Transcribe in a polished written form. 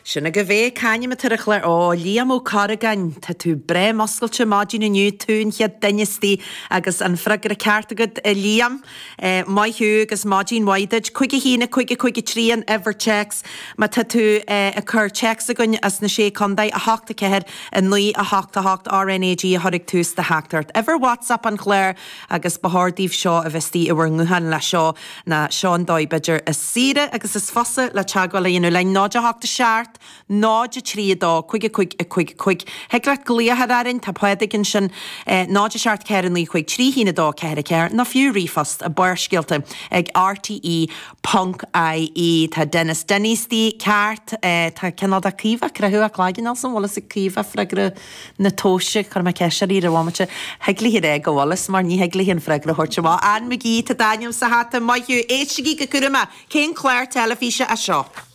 Sin agaibh é, c'ainm atá ar an chlár? Ó, Liam Ó Corragáin, tá tú breá muscailte maidin inniu, tú an chéad duine istigh agus an freagra ceart agat, a Liam. Maith thú agus maidin mhaith duit. 5 1 5 5 3 an uimhir téacs má tá tú ag cur téacs chugainn as na Sé Contae, 8 4 9 8 8 RNAG a chur ag tús do theachtaireacht. Uimhir WhatsApp an chláir agus ba chóir daoibh seo a bheith istigh i bhur ngutháin leis seo ná seo an dóigh b'fhéidir is saoire agus is fusa le teagmháil a dhéanamh linn, 0 8 7 0 3 2 5 5 5 5. Thig leat glaoch a chur orainn, tá Pádraig ansin, 0 7 4 9 5 3 1 2 4 4, nó fiú ríomhphost, Barrscéalta ag rte ponc ie. Tá Denis Denny istigh ceart, tá cineál de Caoimhe cruthú cloigeann ansan, bhfuil fhios ag Caoimhe freagra na tomhaiste, chuir mé ceist uirthi ar an bhomaite, thig léi a rá go bhfuil fhios mar ní thig léi an freagra a thabhairt amach. Ann McGee, tá d'ainm sa hata, maith thú, éistigí go cúramach, cén clár teilifíse é seo?